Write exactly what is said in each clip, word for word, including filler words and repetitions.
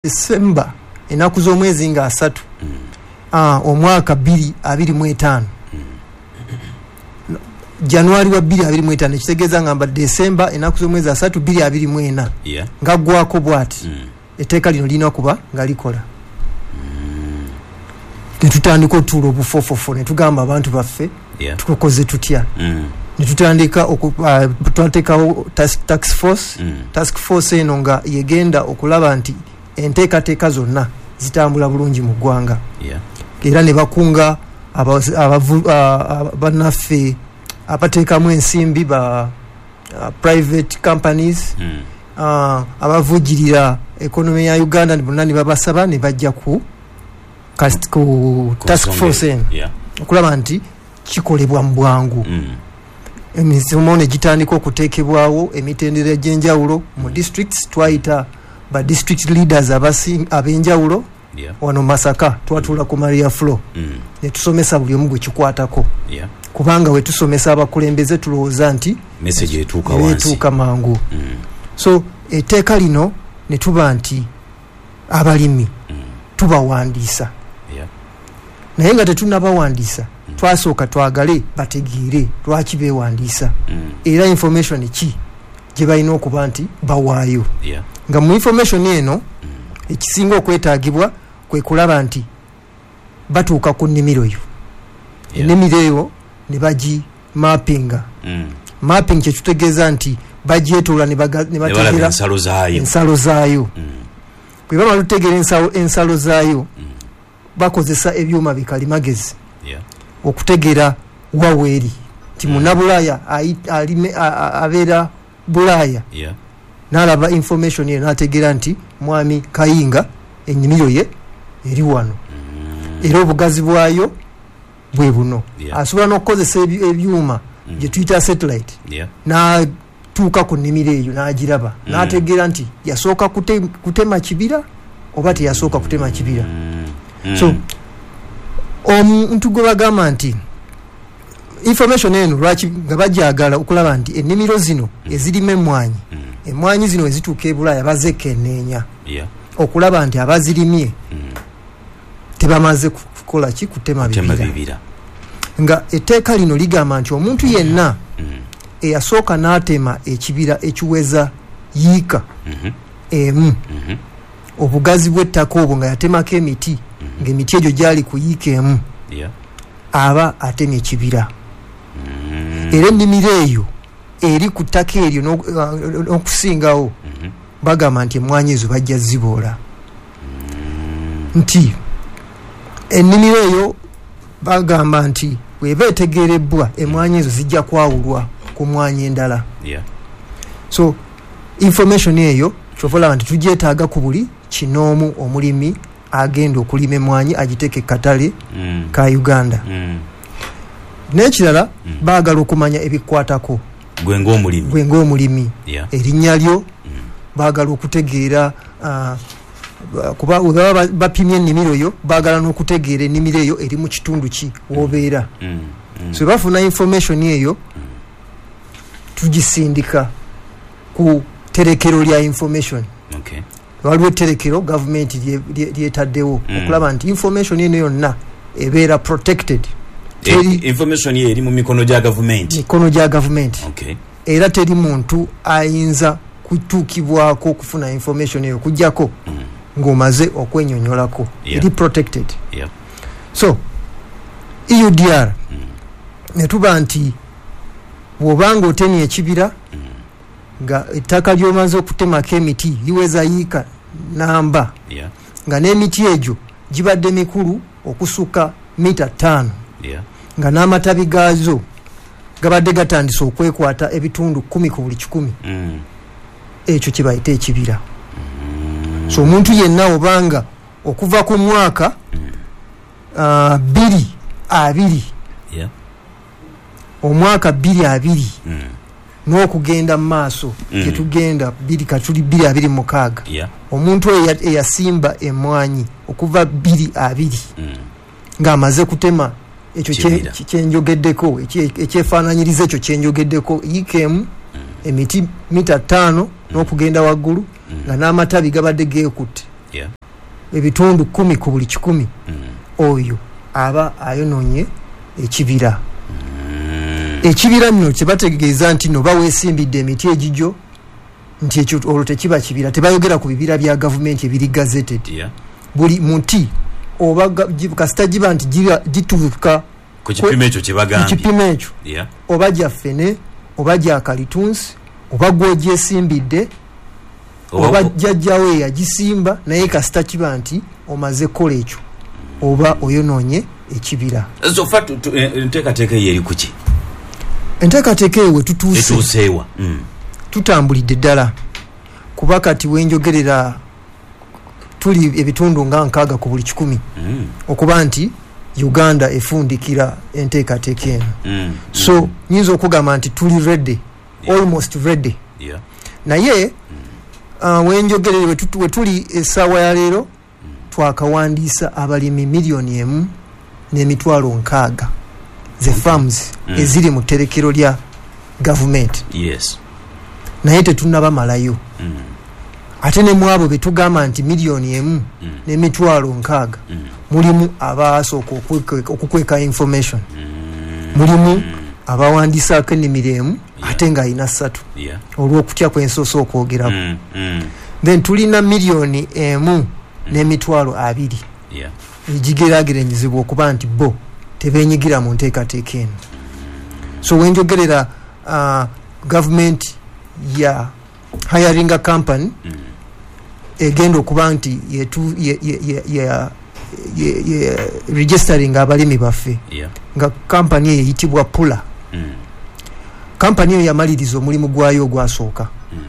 December ennaku z'omwezi nga asatu Mm. ah, omwaka bbiri abiri mu etaano, Mm. January wa bbiri abiri mu etaano, ekitegeeza ngamba December ennaku z'omwezi asatu bbiri abiri mu ena, Yeah. nga ggwako bw'ati, Mm. etteeka lino lirina kuba nga likola. Netutandika otuula obufofofo, netugamba abantu baffe, Yeah. tukoze tutya? Mm. Netutandika oku- ah, twateekawo task, task force. Mm. Task force eno nga yegenda okulaba nti enteekateeka zonna zitambula bulungi mu ggwanga. Yeah. Era ne bakunga aba- abavu- ah, ah, bannaffe abateekamu ensimbi, ba ah, private companies, Mm. ah, abavujjirira economy ya Uganda, bonna ne babasaba ne bajja ku kas- ku Ku task nsonga force eyo. eno Yeah. okulaba nti kikolebwa mu bwangu. Mm. Emisomo ne gitandika okuteekebwawo, emitendera egy'enjawulo mu districts. Twayita ba district leaders abasi- ab'enjawulo. Yeah. Wano Masaka twatuula ku Maria Flo Mm. ne tusomesa buli omu gwe kikwatako, Yeah. kubanga we tusomesa abakulembeze tulowooza nti message etuuka wansi. Etuuka mangu. Mm. So etteeka lino ne tuba nti abalimi Mm. tubawandiisa, Yeah. naye nga tetunnabawandiisa, Mm. twasooka twagale bategeere lwaki beewandiisa Mm. era information ki gye balina okuba nti bawaayo. Yeah. Nga mu information eno, Mm. ekisinga okwetaagibwa kwe kulaba nti batuuka ku nnimiro yo, Yeah. ennimiro eyo ne bagi mappinga. Mm. Mapping kyekitutegeeza nti bagyetoola ne baga- ne ne balaba bategeera ensalo zaayo. Ensalo zaayo. Mm. Bwe bamala otutegeera ensalo- ensalo zaayo, Mm. bakozesa ebyuma bikalimagezi Yeah. okutegeera waweeri nti Mm. munnabulaaya ayi- alime- a- a- abeera Bulaaya, Yeah. n'alaba information eyo n'ategeera nti mwami Kayinga ennimiro ye eri wano, Mm. era obugazi bwayo bwe buno. Yeah. Asobola n'okukozesa eby- ebyuma Mm. gye tuyita satellite, Yeah. n'atuuka ku nnimiro eyo n'agiraba, Mm. n'ategeera nti yasooka kute- kutema kibira oba teyasooka kutema kibira. Mm. Mm. So omuntu gwe bagamba nti information eno lwaki nga bajagala okulaba nti ennimiro zino ezirima emmwanyi, Mm. emmwanyi zino ezituuka e Bulaaya bazekenneenya Yeah. okulaba nti abazirimye Mm. tebamaze kukola ki? Kutema Kutema bibira. bibira. Nga etteeka lino ligamba nti omuntu yenna Mm. eyasooka n'atema ekibira ekiweza yiika Mhm. emu, Mhm. obugazi bw'ettaka obwo nga yatemako emiti, ng'emiti egyo gyali ku yiika emu, Yeah. aba atemye ekibira. Mm. Era ennimiro eyo eri ku ttaka eryo n'oku- eh, n'okusingawo, Mhm. bagamba nti emmwanyi ezo bajja ziboola, nti ennimiro eyo bagamba nti bweba etegerebbwa, emmwanyi ezo zijja kwawulwa ku mmwanyi endala. Yeah. So information eyo kyova olaba nti tugyetaaga ku buli kinoomu omulimi agenda okulima emmwanyi agiteeke katale Mm. ka Uganda. Mm. N'ekirala, Mm. baagala okumanya ebikwatako gwe ng'omulimi. Gwe ng'omulimi, Yeah. erinnya lyo. Mm. Baagala okutegeera, ah, kuba we baba bapimye ennimiro yo, baagala n'okutegeera ennimiro eyo eri mu kitundu ki w'obeera. Mm. Mm. So bafuna information eyo, tugisindika ku terekero lya information. Okay. Waliwo etterekero gavumenti lye- lye- lyetaddewo Mm. okulaba nti information eno yonna ebeera protected. E, Teri information ye eri mu mikono gya gavumenti. Mikono gya gavumenti. Okay. Era teri muntu ayinza kutuukibwako okufuna information eyo okuggyako Mm. ng'omaze okwenyonyolako. Yeah. Eri protected. Yeah. So E U D R, Mm. ne tuba nti bw'obanga otemye ekibira, Mm. nga ettaka ly'omaze okutemako emiti liweza yiika namba, Yeah. nga n'emiti egyo gibadde mikulu okusukka mita ttaano, Yeah. nga n'amatabi gaazo gabadde gatandise okwekwata ebitundu kumi ku buli kikumi, Mm. ekyo kye bayita ekibira. So omuntu yenna obanga okuva ku mwaka Mm. ah, bbiri abiri, Yeah. omwaka bbiri abiri Mm. n'okugenda mu maaso, Mm. gyetugenda bbiri katuli bbiri abiri mukaaga, Yeah. omuntu oyo eya- eyasimba emwanyi okuva bbiri abiri Mm. ng'amaze kutema ekyo kye- Kibira. kye- kyenjogeddeko, ekye- ekyefaananyiriza ekyo kyenjogeddeko, yiika emu, emiti mita ttaano n'okugenda waggulu, Mm. nga n'amatabi gabadde geekutte. Yeah. Ebitundu kumi ku buli kikumi. Mm. Oyo aba ayononye ekibira. Mm. Ekibira nno kyebategeeza nti no baweesimbidde emiti egigyo nti ekyo olwo tekiba kibira, tebayogera ku bibira bya gavumenti ebiri gazetted. Yeah. Buli muti oba kasita giba nti gituuka ku kipimo ekyo kye bagambye, kipimo ekyo, Yeah. oba gya ffene oba gya kalitunsi oba gw'ogyesimbidde oba jjajjawo eyagisimba, naye kasita kiba nti omaze kukola ekyo oba oyonoonye ekibira. So fa enteekateeka eyo eri ku ki? Enteekateeka eyo we tutuuse, etuuseewa? Mm. Tutambulidde ddala, kuba kati wenjogerera tuli ebitundu nga nkaaga ku buli kikumi mm. okuba nti Uganda efundikira enteekateeka eno. Mm. So nyinza okugamba nti tuli ready, Yeah. almost ready. Yeah. Naye uh, wenjogerere we tuli essaawa ya leero twakawandiisa abalimi miliyoni emu n'emitwalo nkaaga ze farms Mm. eziri mu tterekero lya gavumenti. Yes. Naye tetunnabamalayo. Mm. Ate ne mu abo be tugamba nti miliyoni emu Mm. n'emitwalo nkaaga Mm. mulimu abaasooka okukweka information, Mm. mulimu abawandiisaako ennimiro emu Yeah. ate ng'alina ssatu Yeah. olw'okutya kwensoose okwogerako. Mm. Mm. Then tulina miliyoni emu n'emitwalo abiri Yeah. egigeraageranyizibwa okuba nti bo tebeenyigira mu nteekateeka eno. So wenjogerera uh, gavumenti ya hiringa company Mm. egenda okuba nti yetu ye, ye, ye, ye, ye, ye registering abalimi baffe, Yeah. nga kampani eyo eyitibwa Pula. Mm. Kampani eyo yamaliriza omulimu gwayo ogwasooka. Mm.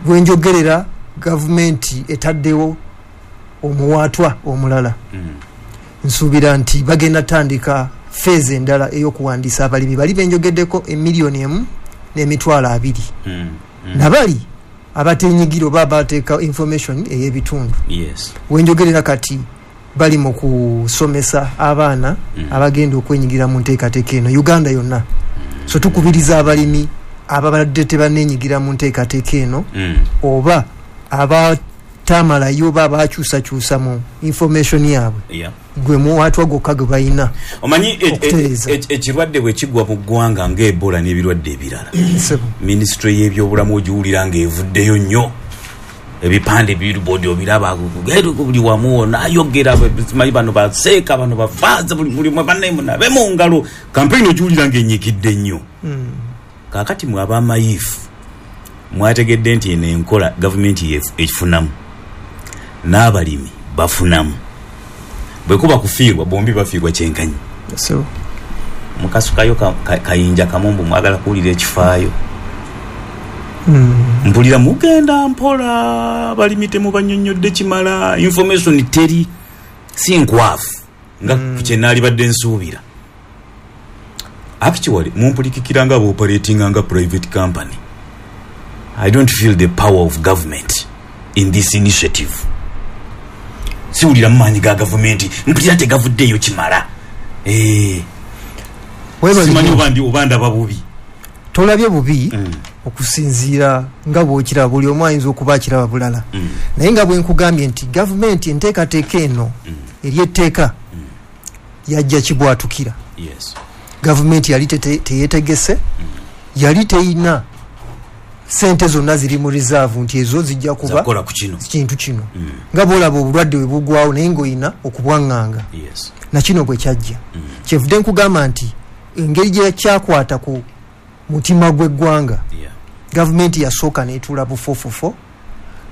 Bwenjogerera gavumenti etaddewo omuwaatwa omulala. Mm. Nsuubira nti bagenda tandika feeza endala ey'okuwandiisa abalimi bali benjogeddeko emiliyoni emu n'emitwalo abiri. Mm. Mm. Nabali abatenyigira oba abateeka information ey'ebitundu. Yes. Wenjogerera kati bali mu kusomesa abaana Mm. abagenda okwenyigira mu nteekateeka eno Uganda yonna. So tukubiriza abalimi ababadde tebanneenyigira mu nteekateeka eno Mm. oba abatamalayo oba abakyusakyusa mu information yaabwe, Yeah. gwe muwaatwa gwokka gwe balina Omanyi e- e- okutereeza. e- ekirwadde bwe kigwa mu ggwanga nga Ebola n'ebirwadde ebirala, Ssebo. minisitule y'ebyobulamu ogiwulira ng'evuddeyo nnyo, ebipande billboard obiraba buli wamu, nayogera simanyi bano baseeka bano bafaaza buli buli bannaye munabe mu ngalo, kampeyini ogiwulira ng'ennyikidde nnyo. Mm. Kaakati mwe ab'amayiifu mwategedde nti eno enkola gavumenti yefu ekifunamu n'abalimi bafunamu, bwe kuba kufiirwa bombi bafiirwa kyenkanyi. Ssebo. Mukasukayo ka, ka, kayinja kamumbu mwagala kuwulira ekifaayo. Mm. Mpulira mugenda mpola, abalimi temubannyonnyodde kimala, information teri si nkwafu nga Mm. kye naalibadde nsuubira. Actually mumpulikikira nga bw'operatinga nga private company. I don't feel the power of government in this initiative. Siwulira mu maanyi ga gavumenti, mpulira tegavuddeeyo kimala. Eh, Weebale simanyi nnyo. oba ndi oba ndaba bubi. Tolabye bubi Mm. okusinziira nga bw'okiraba, buli omu ayinza okuba akiraba bulala. Mm. Naye nga bwe nkugambye nti gavumenti enteekateeka eno Mm. eri etteeka Mm. yajja kibwatukira. Yes. Gavumenti yali tete- teyeetegese, Mm. yali teyina sente zonna ziri mu reserve nti ezo zijja kuba Zakukola ku kino. kintu kino. Mm. Nga bw'olaba obulwadde bwe bugwawo naye ng'olina okubwaŋŋanga. Yes. Na kino bwe kyajja. Mm. Kyenvudde nkugamba nti engeri gye kyakwata ku mutima gw'eggwanga, Yeah. gavumenti yasooka n'etuula bufofofo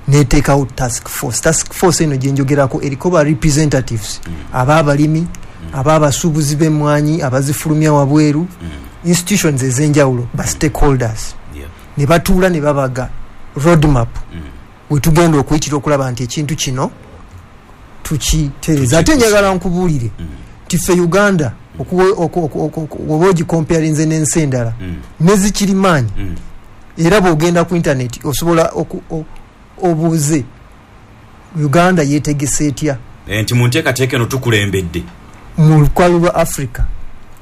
n'eteekawo task force. Task force eno gye njogerako eriko ba representatives Mm. ab'abalimi, ab'abasuubuzi b'emmwanyi abazifulumya wabweru, Mm. institutions ez'enjawulo, ba stakeholders. Yeah. Ne batuula ne babaga roadmap Mm. we tugenda okuyitira okulaba nti ekintu kino tukitereeza. Ate njagala nkubuulire Mm. nti ffe Uganda oba ogicomparinze n'ensi endala Mm. nezikirimaanyi, Mm. era bw'ogenda ku internet osobola obuuze Uganda yeetegese etya nti mu nteekateeka eno tukulembedde mu lukalu lwa Africa.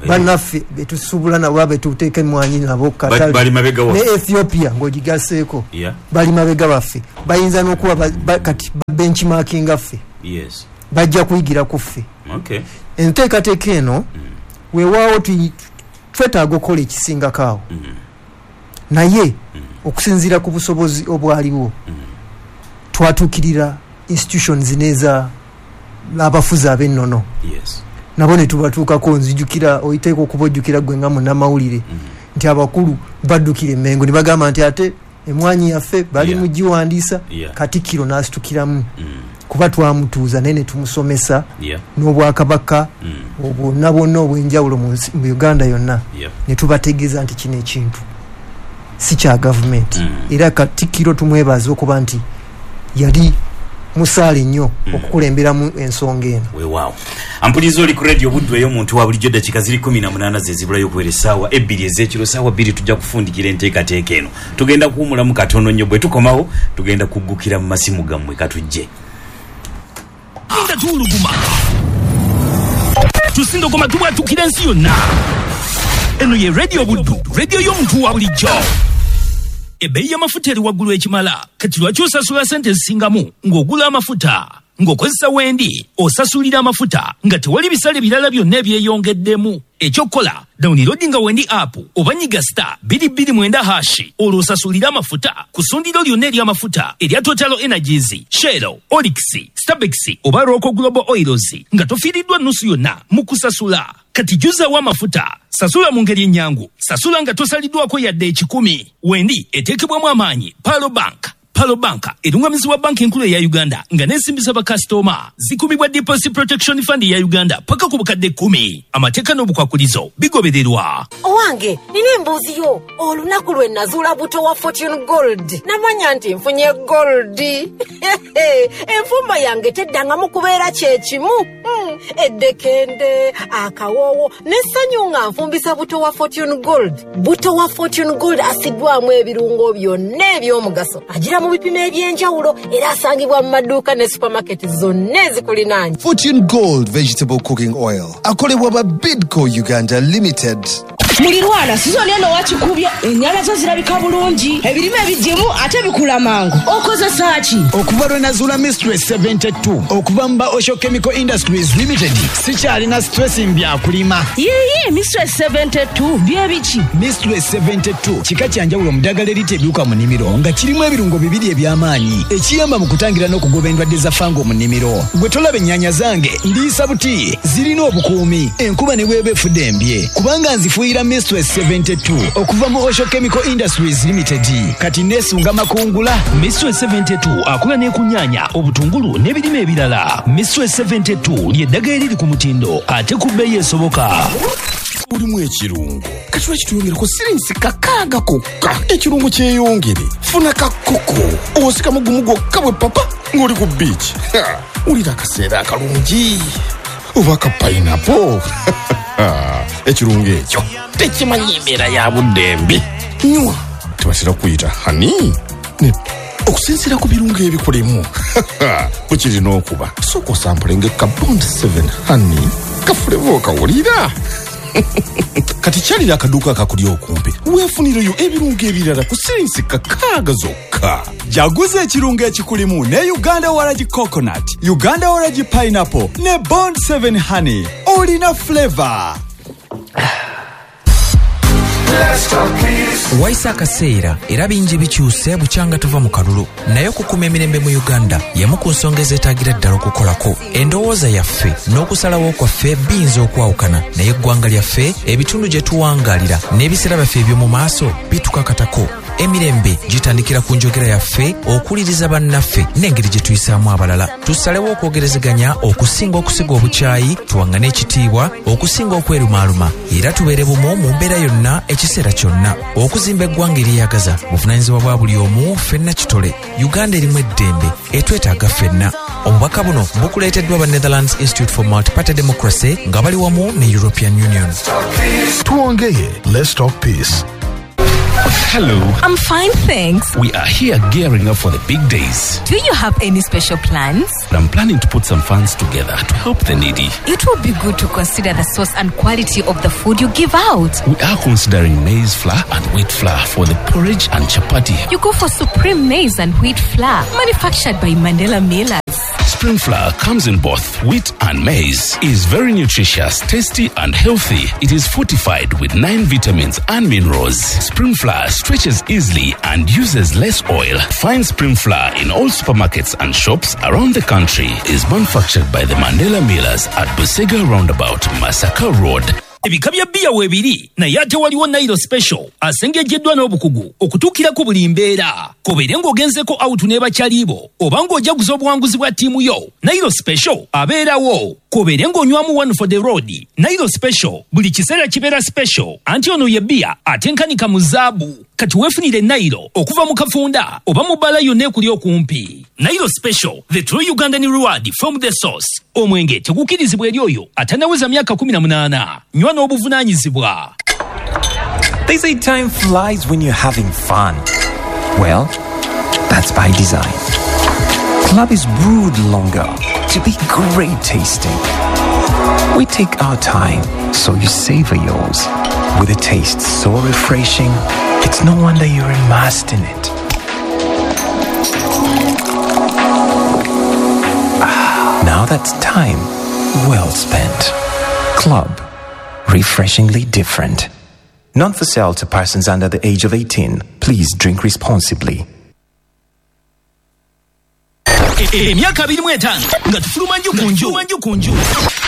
Bannaffe betusuubula nabo betuteeka emmwanyi nabo katale bali mabega ne Ethiopia ng'ogigaseeko yeah. Bali mabega baffe, bayinza n'okuba ba, kati benchmarking ffe. Yes. Bajja kuyigira ku ffe. Okay. Enteekateeka eno mm. weewaawo twetaaga okukola ekisingako awo mm. naye mm. okusinziira ku busobozi obwaliwo mm. twatuukirira institutions n'eza abafuzi ab'ennono. Yes. Nabo ne tubatuukako. Nzijukira oyiteeka okuba ojjukira ggwe nga munnamawulire mm. nti abakulu baddukira Emmengo ne bagamba nti ate emwanyi yaffe bali yeah. mu giwandiisa. Yeah. Katikkiro n'asitukiramu mm. kuba twamutuuza naye ne tumusomesa yeah. n'obwakabaka mm. obwonna bwonna obw'enjawulo mu nsi mu Uganda yonna yeah. ne tubategeeza nti kino ekintu si kya gavumenti mm. era Katikkiro tumwebaza okuba nti yali musaale nnyo mm. okukulemberamu ensonga eno. Weewaawo. Ampuliza oli ku radio Buddu ey'omuntu wa bulijjo, ddakiika ziri kumi na munaana ze zibulayo okuwera essaawa ebbiri ez'ekiro. Ssaawa bbiri tujja kufundikira enteekateeka eno. Tugenda kuwumulamu katono nnyo, bwe tukomawo tugenda kuggukira mu masimu gammwe. Katujje. Linda tuwuluguma tusindogoma tubwatukira ensi yonna. Eno ye Radio Buddu, radio y'omuntu wa bulijjo. Ebbeeyi y'amafuta eri waggulu ekimala, kati lwaki osasula sente ezisingamu ng'ogula amafuta? Ng'okozesa Wendi osasulira amafuta nga tewali bisale birala byonna ebyeyongeddemu. Ekyokukola, downloadinga Wendi app oba nyiga star bbiri bbiri mwenda hash, olwo osasulire amafuta ku ssundiro lyonna ery'amafuta erya Total Energies, Shell, Oryx, Stabex oba Roco Global Oils nga tofiiriddwa nnusu yonna mu kusasula. Kati jjuzaawo amafuta, sasula mu ngeri ennyangu, sasula nga tosaliddwako yadde ekikumi. Wendi eteekebwamu amaanyi Palo Bank. Palo Bank erungamizibwa banki enkulu eya Uganda nga n'ensimbi z'abakasitoma zikumibwa Deposit Protection Fund ya Uganda paka ku bukadde kkumi. Amateeka n'obukwakulizo bigobererwa. Owange, nina embuuzi yo. Olunaku lwe nazuula buto wa Fortune Gold namanya nti nfunye gold. Enfumba yange teddangamu kubeera kyekimu. Mm, eddekende, akawoowo n'essanyu nga nfumbisa buto wa Fortune Gold. Buto wa Fortune Gold asiddwamu ebirungo byonna eby'omugaso, agira mu bipimo eby'enjawulo era asangibwa mu maduuka ne supermarket zonna ezikulinaanye. Fortune Gold Vegetable Cooking Oil akolebwa ba Bidco Uganda Limited. Mulirwana, sizoni eno wakikubye, ennyana zo zirabika bulungi, ebirime ebigimu ate bikula mangu. Okozesa ki? Okuva lwe nazuula Mistress seventy-two okuva mu ba Osho Chemical Industries Limited, sikyalina stress mbyakulima. Yiyi, Mistress seventy-two bye biki? Mistress seventy-two kika kya njawulo mu ddagala erita ebiwuka mu nnimiro nga kirimu ebirungo bibiri eby'amaanyi ekiyamba mu kutangira n'okugoba endwadde za fango mu nnimiro. Gwe tolaba ennyaanya zange ndiisa buti, zirina obukuumi enkuba ne bw'eba efudde embye kubanga nzifuuyira Mistress seventy-two okuva mu Osho Chemical Industries Limited. Kati neesunga makungula. Mistress seventy-two akola ne ku nnyaanya, obutungulu n'ebirime ebirala. Mistress seventy-two ly'eddagala eriri ku mutindo ate ku bbeeyi esoboka. Mulimu ekirungo kati lwaki tuyongerako sirinsi kakaaga kokka? Ekirungo kyeyongere. Funa kakoko osikamu gumu gwokka bwe papa ng'oli ku beach. Wulira akaseera akalungi oba ka pineapple. Ekirungo ekyo tekimanyi embeera ya budde mbi. Nywa, tebatera kuyita hani okusinziira ku birungo ebikulimu bwe kirina okuba. Sooka osampulenga ka Bond seven honey kafuleva okawulira. Kati kyalira akaduuka akakuli okumpi weefunireyo ebirungo ebirala ku sirinsi kakaaga zokka. Jaguza ekirungo ekikulimu ne Uganda Waragi Coconut, Uganda Waragi Pineapple ne Bond seven Honey. Olina flavor. Wayise akaseera era bingi bikyuse bukyanga tuva mu kalulu, naye okukuuma emirembe mu Uganda y'emu ku nsonga ezeetaagira ddala okukolako. Endowooza yaffe n'okusalawo kwaffe biyinza okwawukana, naye eggwanga lyaffe, ebitundu gye tuwangaalira n'ebiseera byaffe eby'omu maaso bitukakatako. Emirembe gitandikira ku njogera yaffe, okuwuliriza bannaffe n'engeri gye tuyisaamu abalala. Tusalewo okwogerezeganya okusinga okusiga obukyayi, tuwaŋŋane ekitiibwa okusinga okwerumaaluma, era tubeere bumu mu mbeera yonna ekiseera kyonna. Okuzimba eggwanga eryeyagaza buvunaanyizibwa bwa buli omu, ffenna kitole. Uganda erimu eddembe, etwetaaga ffenna. Obubaka buno bukuleeteddwa ba Netherlands Institute for Multiparty Democracy nga bali wamu ne European Union. Tuongeye, let's talk peace. Hello. I'm fine, thanks. We are here gearing up for the big days. Do you have any special plans? I'm planning to put some funds together to help the needy. It would be good to consider the source and quality of the food you give out. We are considering maize flour and wheat flour for the porridge and chapati. You go for Supreme Maize and Wheat Flour, manufactured by Mandela Millers. Supreme flour comes in both wheat and maize, is very nutritious, tasty and healthy. It is fortified with nine vitamins and minerals. Supreme flour stretches easily and uses less oil. Find Supreme flour in all supermarkets and shops around the country. Is manufactured by the Mandela Millers at Busega Roundabout, Masaka Road. Ebika bya bbiya weebiri naye ate waliwo Nile Special asengejjeddwa n'obukugu okutuukira ku buli mbeera. Kobeere ng'ogenzeko out ne bakyalibo oba ng'ojaguza obuwanguzi bwa ttiimu yo, Nile Special abeerawo. Kobeere ng'onywamu one for the road, Nile Special buli kiseera kibeera special, anti ono ye bbiya atenkanika mu zaabu. Kati weefunire Nile okuva mu kafunda oba mu bbaala yonna ekuli okumpi. Nile Special, the true Ugandan reward from the source. Omwenge tegukkirizibwa eri oyo atannaweza myaka kumi na munaana. Nywa n'obuvunaanyizibwa. They say time flies when you're having fun. Well, that's by design. Club is brewed longer to be great tasting. We take our time so you savor yours. With a taste so refreshing, it's no wonder you're immersed in it. Ah, now that's time well spent. Club, refreshingly different. Not for sale to persons under the age of eighteen. Please drink responsibly. Emyaka abiri mu etaano nga tufuluma nju ku nju, nju ku nju,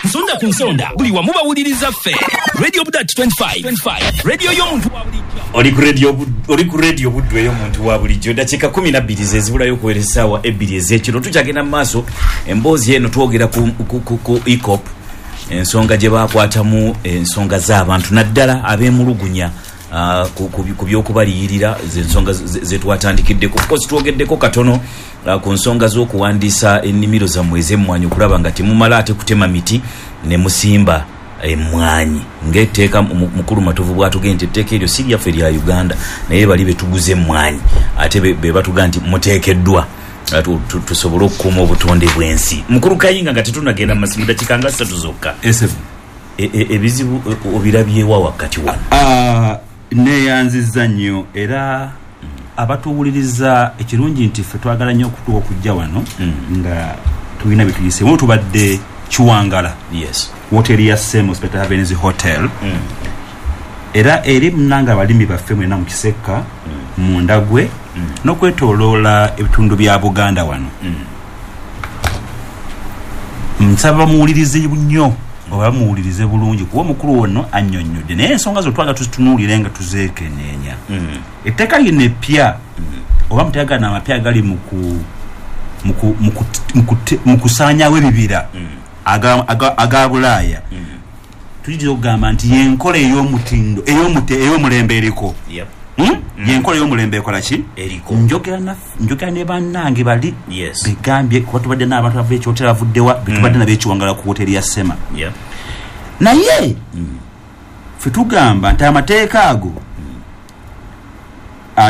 nsonda ku nsonda, buli wamu bawuliriza ffe. Radio Budat twenty-five, radio y'omuntu wa bulijjo. Oli ku radio, oli ku radio Buddu ey'omuntu wa bulijjo. Dakiika kumi na bbiri ze zibulayo okuwera essaawa ebbiri ez'ekiro. Tukyagenda mu maaso emboozi eno twogera ku, ku, ku, ku EACOP, ensonga gye bakwatamu ensonga z'abantu naddala ab'emulugunya uh, ku, ku, ku by'okubaliyirira, z'ensonga zetwatandikiddeko. Of course twogeddeko katono uh, ku nsonga z'okuwandiisa ennimiro zammwe ez'emmwanyi okulaba nga temumala ate kutema miti ne musimba emmwanyi ng'etteeka mukulu Matovu bw'atugambye nti etteeka eryo si lyaffe lya Uganda, naye bali betuguza emmwanyi ate be batugamba nti muteekeddwa tusobole okukuuma obutonde bw'ensi. Mukulu Kayinga, nga tetunnagenda mu masimu, dakiika nga ssatu zokka, ebizibu obirabyewa wakati wano? Neeyanzizza nnyo era abatuwuliriza. Ekirungi nti ffe twagala nnyo okutuuka okujja wano nga tulina bye tuyiseemu. Tubadde Kiwangala, yes, woteri ya Semo Spectator Avenues Hotel, era eri munanga abalimi baffe mwena mu Kisekka, mu Ndagwe n'okwetooloola ebitundu bya Buganda wano. Nsaba muwulirize nnyo oba muwulirize bulungi kuba omukulu ono annyonnyodde, naye ensonga zo twagala tuzitunuulire nga tuzeekenneenya. Etteeka lino eppya oba muteagana amapya agali mu kusaanyaawo ebibira aga Bulaaya, tuyinza okugamba nti y'enkola ey'omutindo ey'omulembe eriko. Y'enkola ey'omulembe ekola ki? Njogera ne bannange bali begambye kuba tubadde n'abantu bava ekyotera bavuddewa, betubadde nabo ekiwangala ku woteri ya Sema. Naye ffe tugamba nti amateeka ago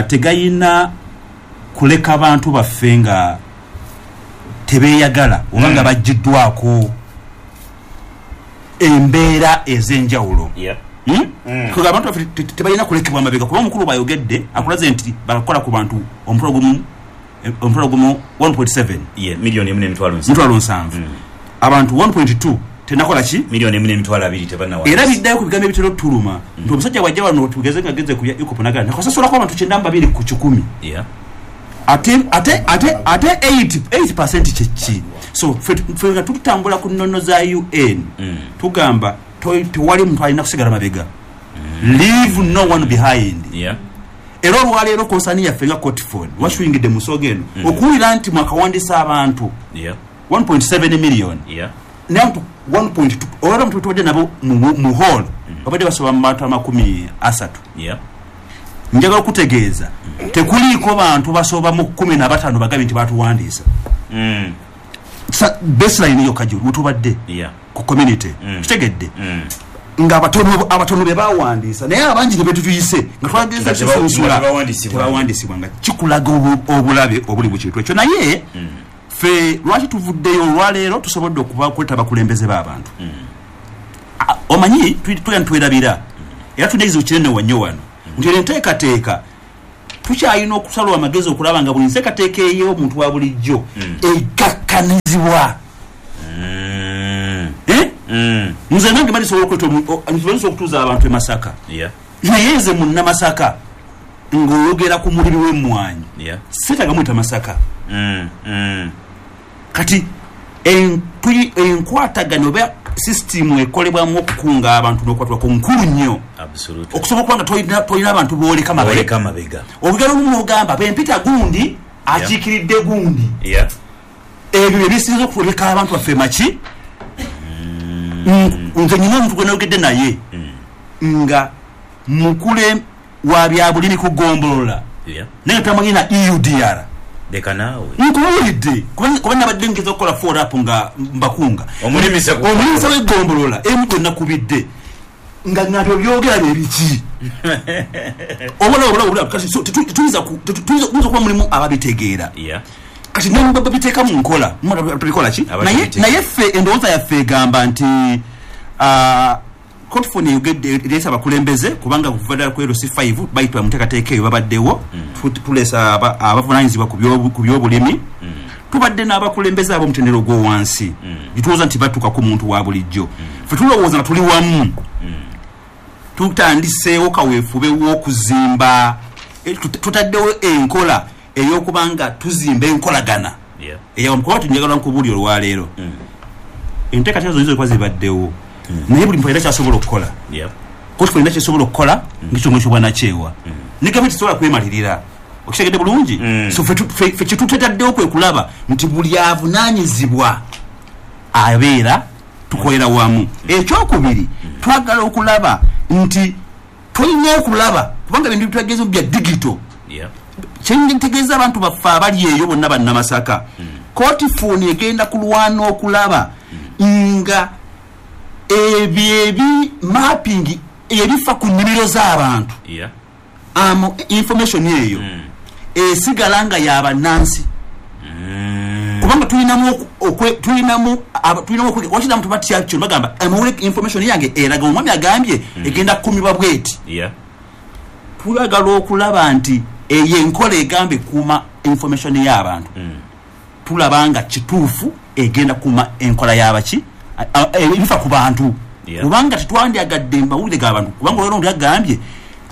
tegayina kuleka abantu baffe nga tebeeyagala oba nga baggiddwako embeera ez'enjawulo. Kuga abantu baffe tebalina kulekebwa mabega, kuba omukulu bw'ayogedde akulaze nti bakola ku bantu omutwalo gumu omutwalo gumu one point seven miliyoni emu n'emitwalo nsanvu, abantu one point two tenakola ki miliyoni emu n'emitwalo abiri tebannawa. Era biddayo ku bigambo ebitera otuluma nti omusajja bw'ajja wano tugeze nga agenze ku bya EACOP n'agamba nakasasulako abantu kyenda mu babiri ku kikumi, ate ate ate ate eight percent kyeki. So ffe nga tutambula ku nnono za U N tugamba tewali muntu alina kusigala mabega, leave no one behind. Era olwaleero konsani yaffe nga Cotford wasuyingidde mu nsonga eno okuwulira nti mwakawandiisa abantu one point seven million naye abantu one point two olwaleero abantu tubadde nabo mu hall babadde basoba mu bantu amakumi asatu. Njagala okutegeeza tekuliiko bantu basoba mu kkumi na bataano bagambye nti batuwandiisa. Baseline yokka gye wetubadde ku community kitegedde. Nga abatono abatono be bawandiisa, naye abangi ne betutuyise nga twageza kusunsula tebawandiisibwa, nga kikulaga obulabe obuli mu kintu ekyo. Naye mm. ffe lwaki tuvuddeyo olwaleero? Tusobodde okuba kweta abakulembeze b'abantu. mm. Omanyi tugenda twerabira, era tulina ekizibu kinene wannyo wano nti eno enteekateeka tukyalina okusalwa amagezi okulaba nga buli nteekateeka ey'omuntu wa bulijjo egakkanizibwa. Nze nange mali sobola okutuuza abantu e Masaka, naye nze munnamasaka ng'oyogera ku mulimi w'emmwanyi seetaaga muyita Masaka. Kati enkwatagano oba sisitimu ekolebwamu okukunga abantu n'okwatulako nkulu nnyo, okusobola okuba nga tolina abantu booleka mabega. Olugero olumu ogamba bempita gundi akiikiridde gundi, ebyo ebisinza okwoleka abantu baffe maki. Nze nyina omuntu gwe nayogedde naye nga mukule wa byabulimi ku ggombolola, naye tamanyi na E U D R. Leka naawe nkubuulidde, kuba nabadde ngeza okukola follow up nga mbakunga omulimisa w'eggombolola emu gwe nakubidde nga ngabyo byogera bye biki. Obula obula obula kati tuyinza okuba mulimu ababitegeera, kati ne babiteeka mu nkola tubikola ki? Naye ffe endowooza yaffe egamba nti Cotfone eyogedde ereese abakulembeze, kubanga kuva ddala ku L C five bayitibwa mu nteekateeka eyo babaddewo, tuleesa abavunaanyizibwa ku byobulimi, tubadde n'abakulembeze ab'omutendera ogw'owansi gitulowooza nti batuuka ku muntu wa bulijjo. Ffe tulowooza nga tuli wamu tutandiseewo kaweefube w'okuzimba, tutaddewo enkola ey'okubanga tuzimba enkolagana eyawamu. Kuba tunjagala nkubuulira olwaleero enteekateeka zonna zonna zibaddewo, naye buli muntu alina kyasobola okukola. Cotfone erina kyesobola okukola ng'ekitongole ky'obwannakyewa, ne gavumenti tesobola kwemalirira. Okitegedde bulungi? So ffe kyetutetaddewo kwe kulaba nti buli avunaanyizibwa abeera tukolera wamu. Ekyokubiri, twagala okulaba nti tulina okulaba kubanga ebintu bitwageze bya digito. Kyentegeeza abantu baffe abali eyo bonna bannamasaka, Cotfone egenda kulwana okulaba nga ebyo ebi mapping ebifa ku nnimiro z'abantu, information eyo esigala nga y'abannansi, kubanga tulinamu tulinamu tulinamu wakiri abantu batya kyo bagamba amawulire information yange eraga omwami agambye egenda kukumibwa bweti. Twagala okulaba nti eyo enkola egamba ekuuma information y'abantu, tulaba nga kituufu egenda kukuuma enkola y'abaki ebifa ku bantu, kubanga tetwandyagadde mawulire g'abantu. Kubanga olwaleero omuntu agambye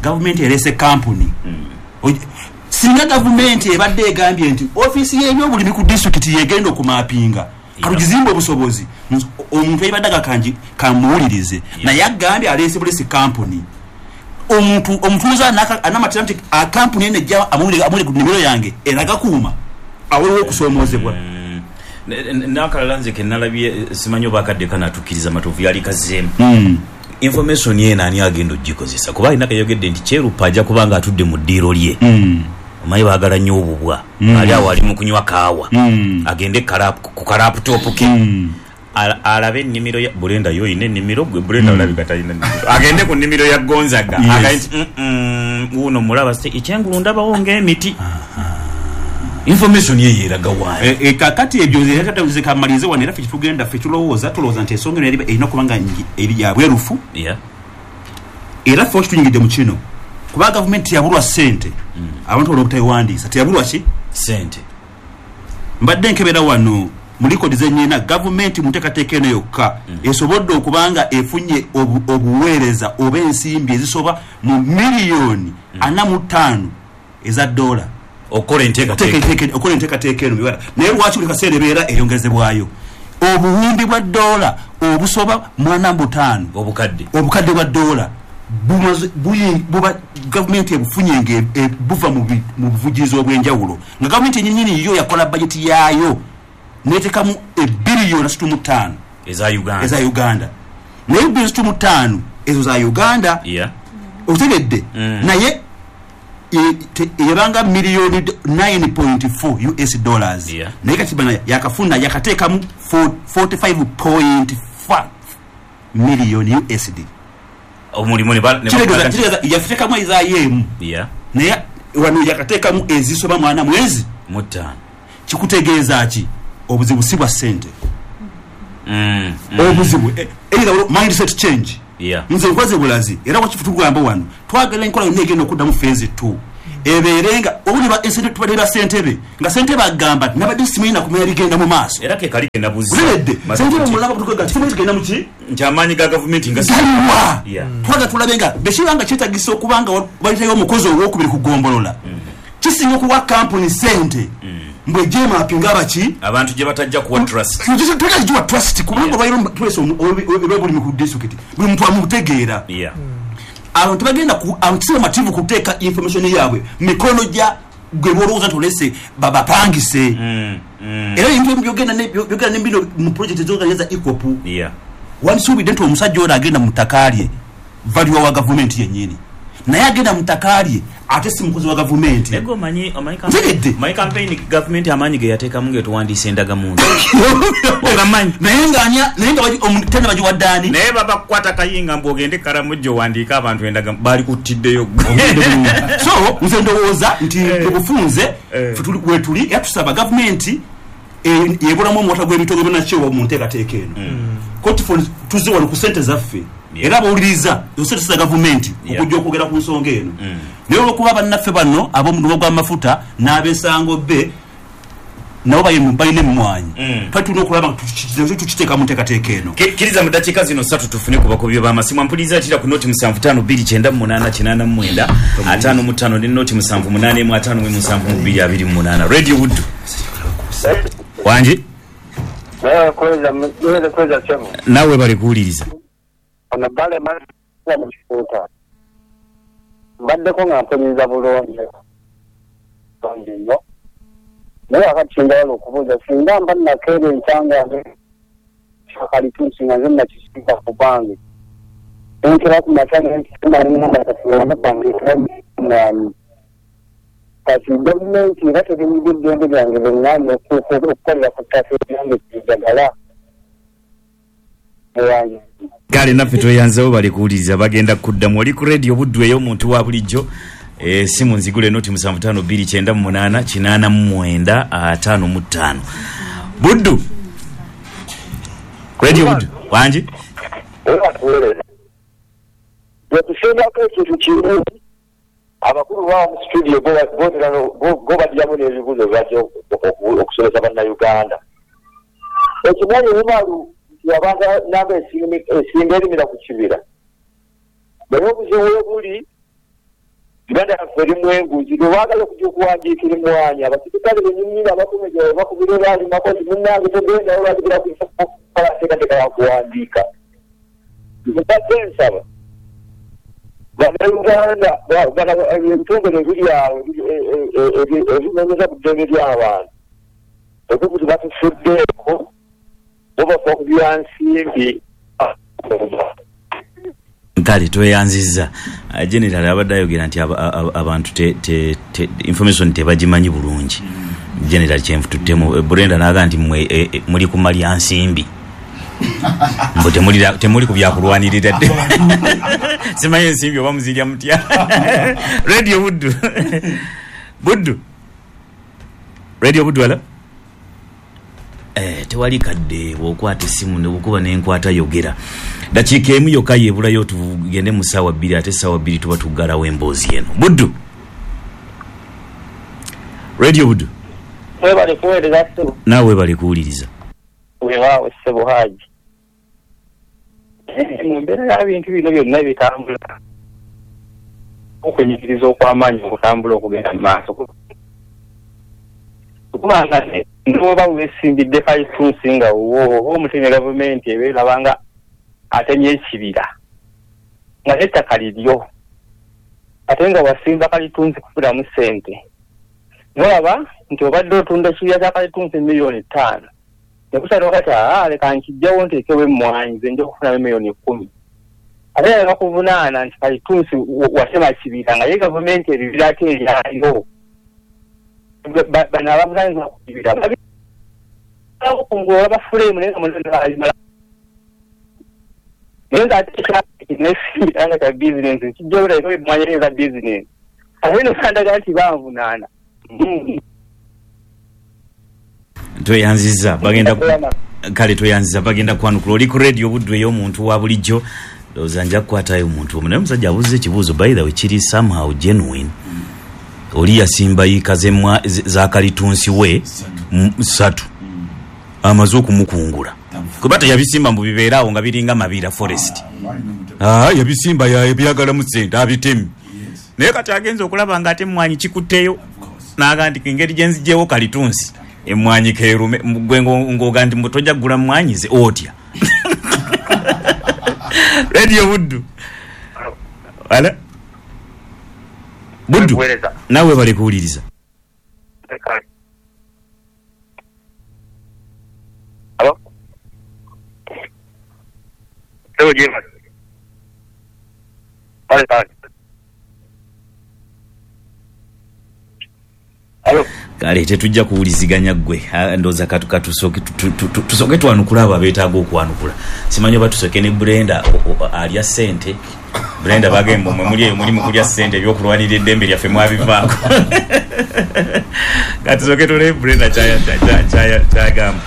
gavumenti ereese kampuni, singa gavumenti ebadde egambye nti ofiisi y'ebyobulimi ku disitulikiti yegenda okumapinga, katugizimbe obusobozi, omuntu eyibadde agakangi kamuwulirize, naye agambye aleese bulesi kampuni. Omuntu omutuuze anamatira nti kampuni eno ejja amawulire ku nnimiro yange eragakuuma, awaliwo okusoomoozebwa. N'akalala nze ke nalabye simanyi oba akadde kanaatuukiriza Matovu yali kazzeemu information eno ani agenda ogikozesa, kuba alina kayogedde nti Kyeruppe ajja kuba nga atudde mu ddiiro lye, omanyi baagala nnyo obubwa, ali awo ali mu kunywa kaawa, agende ku kalaputopu ke alabe ennimiro ya Bulenda. Yo oyina ennimiro gwe Bulenda olabika talina nnimiro, agende ku nnimiro ya Gonzaga agaye nti wuuno mulaba ekyengulu ndabawo ng'emiti. Information ye yeraga waayo. Kakati ebyo nze kamalize wano, era ffe kyetugenda ffe tulowooza tulowooza nti ensonga eno erina okuba nga eri ya bwerufu, era ffe okitunyigidde mu kino kuba gavumenti teyabulwa ssente, abantu olw'obutabiwandiisa teyabulwa ki ssente. Mbadde nkebera wano mu likodi zennyina, gavumenti mu nteekateeka eno yokka esobodde okuba nga efunye obuweereza oba ensimbi ezisoba mu miliyoni ana mu ttaano eza ddoola okukola enteekateeka eno. Naye lwaki buli kaseera ebeera eyongezebwayo obuwumbi bwa ddoola obusoba mu ana mu butaano, obukadde obukadde bwa ddoola buba gavumenti ebufunye nga buva mu buvujjirizi obw'enjawulo, nga gavumenti yennyini yo yakola bajeti yaayo neteekamu ebbiliyoni asatu mu ttaano eza Uganda, eza Uganda. Naye ebbiliyoni asatu mu ttaano ezo za Uganda, otegedde, naye ebanga miliyoni nine point four U S dollars, naye kati bana yakafuna yakateekamu forty-five point five million U S D. Omulimu ne kitegeeza kitegeeza yateekamu ezaayo Yeah. Naye wano yakateekamu ezisoba mwana mwezi mutaano. Kikutegeeza ki? Obuzibu si bwa ssente. Mm, mm. Obuzibu either mindset change. Yeah. Nze nkwaze bulazi era wakifu tugamba wano twagala enkola yonna egenda okuddamu phase two ebeerenga obuli ensente tubadde ssentebe nga ssentebe agamba nabadde simanyi nakumanya bigenda mu maaso era ke kali genda buzi buleredde ssentebe mulaba tukaga simanyi tugenda mu ki nti amaanyi ga gavumenti nga galiwa. Twagala tulabe nga bekibanga kyetagisa okuba nga balitayo omukozi owokubiri ku ggombolola kisinga okuwa kampuni ssente mbwe jemapinga abaki abantu gye batajja kuwa trust tutajja trust kubanga bayiro twese obulimi ku district buli muntu amutegeera. Abantu bagenda ku abantu mativu kuteeka information yaabwe mikono gya gwe bolowooza nti olese babapangise. Era ebintu byogenda byogenda n'embino mu project ez'organiza EACOP wansuubidde nti omusajja ono agenda mu ttaka lye value wa gavumenti yennyini naye agenda mu ttaka lye ate si mukozi wa gavumenti. Nego omanyi omanyi my campaign gavumenti amaanyi ge yateekamu ng'etuwandiisa endagamuntu ogamanyi naye ng'anya naye nga tena bagiwadde ani naye babakukwata kayinga mbu ogende Karamojja owandiike abantu endagamuntu baali kuttiddeyo. So nze ndowooza nti obufunze wetuli era tusaba gavumenti yebulamu omuwata gw'ebitongole bannakyewa mu nteekateeka eno koti tuzze wano ku ssente zaffe era abawuliriza ssente za gavumenti okujja okwogera ku nsonga eno. Naye olwokuba bannaffe bano ab'omudumo gw'amafuta n'abesango be nabo balina emmwanyi twali tulina okulaba nga tukiteeka mu nteekateeka eno. Kkiriza mu ddakiika zino ssatu tufune ku bakubi b'amasimu. Ampuliriza kira ku noti musanvu ttaano bbiri kyenda mu munaana kinaana mu mwenda ataano mu ttaano ne noti musanvu munaana emu ataano mu musanvu mu bbiri abiri mu munaana. Radio Buddu wangi naawe bali kuwuliriza. Ono bale mu kifuuta mbaddeko nga mpuliriza bulungi bulungi nnyo naye akati njagala okubuuza singa mba nakeera enkya kalitunsi nga nze nakisimba ku bange enkera ku makya nenkimanyi kati gavumenti era terimidde eddembe lyange lyeŋŋaanye okukolera ku ttaka eryange kijagala. Kale naffe tweyanzeewo bali kuwuliriza bagenda kuddamu. Oli ku Radio Buddu ey'omuntu wa bulijjo. Esimu nzigule noti musanvu ttaano bbiri kyenda mu munaana kinaana mu mwenda ataano mu ttaano. Buddu Radio Buddu wangi bwetusembako ekintu kimu abakulu bawa mu studio go badyamu n'ebibuuzo byajja okusomesa bannayuganda. Ekimanyi bumalu nti abantu namba esinga erimira ku kibira naye obuzibu we buli Uganda yaffe erimu enguzi lwebaagala okujja okuwandiikira emmwanyi abasirikale bennyini abakumeja bakubira baalimako nti munnange togendayo lwakigera kukola nteekateeka ya kuwandiika. Mbadde nsaba bannayuganda ebitongole ebiri awo ebinoonyeza ku ddembe ly'abantu ekukuti batufuddeeko bo bafa ku byansimbi. Kale tweyanzizza. General abadde ayogera nti abantu information tebagimanyi bulungi. General kyenfututtemu Brenda n'agamba nti mmwe muli ku malya nsimbi mbu temuli ku byakulwanirira dde simanyi ensimbi oba muzirya mutya. Radio Buddu Buddu Radio Buddu ala eh, tewali kadde bw'okwata essimu ne bukuba n'enkwata yogera. Dakiika emu yokka yeebulayo tugende mu ssaawa bbiri ate ssaawa bbiri tuba tuggalawo emboozi eno. Buddu Radio Buddu webale kuweereza ssebo. Naawe webale kuwuliriza. Weewaawo ssebo Haji. Mu mbeera y'ebintu bino byonna ebitambula okwenyigiriza okw'amaanyi okutambula okugenda mu maaso kubanga n'oba weesimbidde kalitunsi nga wo oba omutemye gavumenti ebeeraba nga atemye ekibira nga n'ettaka liryo ate nga wasimba kalitunsi kufunamu ssente nolaba nti obadde otunda ekibira kya kalitunsi miliyoni ttaano nekusalawo kati aa leka nkijjawo nteekewo emmwanyi nze nja okufunamu miliyoni kkumi ate era bakuvunaana nti kalitunsi watema kibira nga ye gavumenti ebibira ate eryayo bano abavunaanyizibwa ku kibira okungula bafuleemu naye nga munaye nga ate Nesimbira nga ka bizinensi kijja obulabika emmwanyi eza bizinensi ate no bandaga nti banvunaana. Tweyanziza bagenda kale tweyanziza bagenda kwanukula. Oli ku radio Buddu ey'omuntu wa bulijjo. Ndowooza nja kukwatayo omuntu omu, naye omusajja abuuza ekibuuzo by the way kiri somehow genuine. Oli yasimba yiika za kalitunsi we ssatu amaze okumukungula, kuba teyabisimba mbu bibeeraawo nga biringa mabira forest. Ah, yabisimba yabyagalamu ssente abitemi, naye kati agenza okulaba nga ate emmwanyi kikutteyo n'aga nti engeri gye nzigyewo kalitunsi emmwanyi keerume. Gwe ng'oga nti tojja kugula mmwanyi ze otya? Radio Buddu. Ala Buddu, nawe bali kuwuliriza. Alo? Kale tetujja kuwuliziganya ggwe, ndowooza katusooke tusooke twanukula abo abeetaaga okwanukula. Simanyi oba tusooke ne Brenda alya ssente. Brenda bagamba mmwe muli eyo muli mu kulya ssente, ebyokulwanirira eddembe lyaffe mwabivaako. Katusooke tulabe Brenda kyagamba.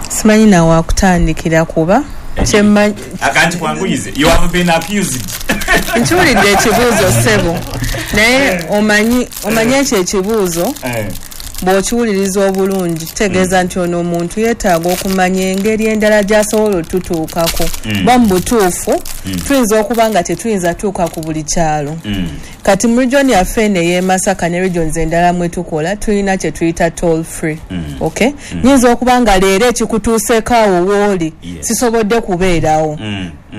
Simanyi nawe akutandikira kuba akanti kwanguyize. You have been accused. Nkiwulidde ekibuuzo ssebo, naye omanyi omanyi ekyo ekibuuzo bw'okiwuliriza obulungi kitegeeza nti ono omuntu yeetaaga okumanya engeri endala gy'asobola otutuukako. Ba mu butuufu tuyinza okuba nga tetuyinza tuuka ku buli kyalo. Kati mu region yaffe eno ey'e Masaka ne regions endala mwe tukola tulina kye tuyita toll free. Okay? Nyinza okuba nga leero ekikutuuseeko awo w'oli sisobodde kubeerawo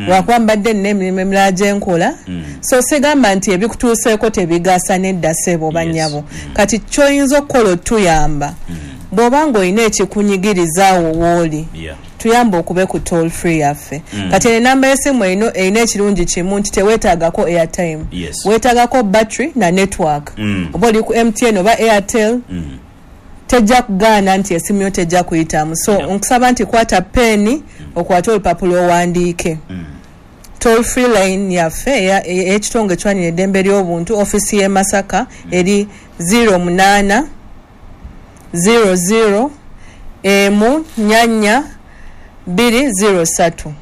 lwakuba mbadde nina emirimu emirala gye nkola. So sigamba nti ebikutuuseeko tebigasa nedda ssebo bannyabo. Kati ky'oyinza okukola otuyamba bw'oba ng'olina ekikunyigiriza awo w'oli, tuyamba okube ku toll free yaffe. Kati enamba y'essimu erina ekirungi kimu nti teweetaagako airtime, weetaagako battery na network. Oba oli ku M T N oba Airtel, tejja kugaana nti essimu yo tejja kuyitamu. So nkusaba nti kwata peni okwate olupapula owandiike. Toll free line yaffe ey'ekitongole ekirwanirira eddembe ly'obuntu ofiisi y'e Masaka eri zero munaana zero zero emu nnya nnya bbiri zero ssatu.